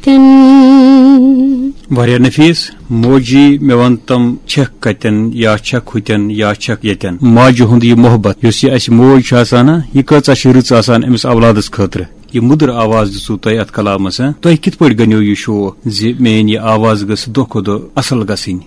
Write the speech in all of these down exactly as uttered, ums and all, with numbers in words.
تن۔ واریاہ نفیس۔ موجی، مےٚ وَن تم، چھکھ کتٮ۪ن یا چھکھ ہُتٮ۪ن یا چھکھ ییٚتٮ۪ن؟ ماجہِ ہُنٛد یہِ محبت یُس یہِ اَسہِ موج چھِ آسان نا، یہِ کۭژاہ چھِ رٕژ آسان أمِس اولادس خٲطرٕ۔ یہِ مٔدٕر آواز دِژوٕ تۄہہِ اَتھ کلامس، ہاں؟ تۄہہِ کِتھ پٲٹھۍ گنیو یہِ شوق زِ میٲنۍ یہِ آواز گٔژھ دۄہ کھۄتہٕ دۄہ اصل گژھٕنۍ؟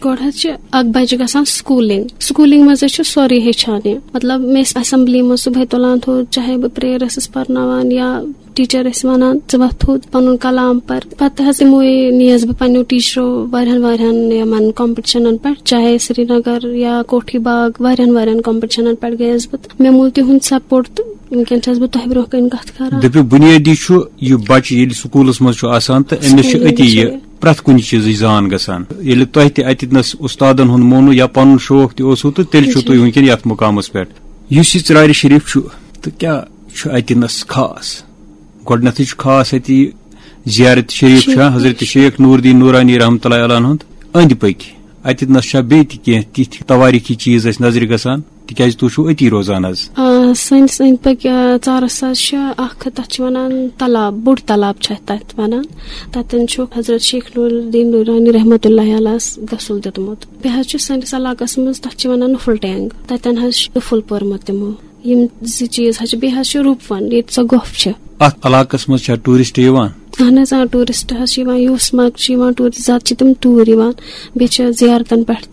گۄڈٕ حظ چھِ اکھ بچہِ گژھان سکوٗلِنگ۔ سکوٗلِنگ منٛز حظ چھُ سورُے ہیٚچھان یہِ۔ مطلب، مےٚ ٲسۍ اسمبلی منٛز صبحٲے تُلان تھوٚد، چاہے بہٕ prayer ٲسٕس پرناوان یا ٹیچر ٲسۍ ونان، "ژٕ وۄتھ تھوٚد، پنُن کلام پر۔" پتہٕ حظ یِموے نیس بہٕ پننیو ٹیچرو واریاہن واریاہن یِمن کمپٹشنن پٮ۪ٹھ، چاہے سرینگر یا کوٹھی باغ، واریاہن واریاہن کمپٹشنن پٮ۪ٹھ گٔیس بہٕ۔ تہٕ مےٚ مول تِہُنٛد سپورٹ، تہٕ وٕنکیٚن چھَس بہٕ تۄہہِ برونٛہہ کَنہِ کَتھ کران۔ دٔپِو، بُنیٲدی چھُ یہِ بچہِ ییٚلہِ سکوٗلس منٛز چھُ آسان تہٕ أمِس چھِ سکوٗلِنگ أتی یہِ چھِ۔ پرٛٮ۪تھ کُنہِ چیٖزٕچ زان گژھان۔ ییٚلہِ تۄہہِ تہِ اَتہِ نَس اُستادن ہُنٛد مونوٕ یا پنُن شوق تہِ اوسوٕ، تہٕ تیٚلہِ چھِو جی۔ تُہۍ وٕنکیٚن یَتھ مُقامس پٮ۪ٹھ۔ یُس یہِ ژرارِ شریف چھُ، تہٕ کیٛاہ چھُ اَتہِ نَس خاص؟ گۄڈٕنٮ۪تھٕے چھُ خاص اَتہِ یہِ زیارت شریف چھا، شریف۔ حضرت شیخ نور الدین نورانی رحمتہ اللہ علیہ ہُنٛد أنٛدۍ پٔکۍ۔ اَتہِ نَس چھا بیٚیہِ تہِ کینٛہہ تِتھۍ توٲریٖخی چیٖز اَسہِ نظرِ گژھان؟ تِکیٛازِ تُہۍ چھِو أتی روزان حظ۔ آ، سٲنِس أنٛدۍ پٔکۍ، آ، ژارَس حظ چھِ اَکھ، تَتھ چھِ وَنان تَلاب، بوٚڑ تَلاب چھِ اَتھ تَتھ وَنان۔ تَتٮ۪ن چھُ حضرت شیخ نور الدین نورانی رحمتہ اللہ علیہَس غسل دیُتمُت۔ بیٚیہِ حظ چھُ سٲنِس علاقَس منٛز، تَتھ چھِ وَنان نُفُل ٹینٛگ، تَتٮ۪ن حظ چھُ نُفُل پوٚرمُت تِمو۔ یِم زٕ چیٖز حظ چھِ۔ بیٚیہِ حظ چھُ روٗپ وَن، ییٚتہِ سۄ گۄپھ چھِ۔ اَتھ علاقَس منٛز چھا ٹوٗرِسٹ یِوان؟ اہن حظ، آ، ٹوٗرِسٹ حظ چھِ یِوان، یوٗسمرگ چھِ یِوان ٹوٗرِسٹ، زیادٕ چھِ تِم توٗرۍ یِوان۔ بیٚیہِ چھِ زیارتَن پٮ۪ٹھ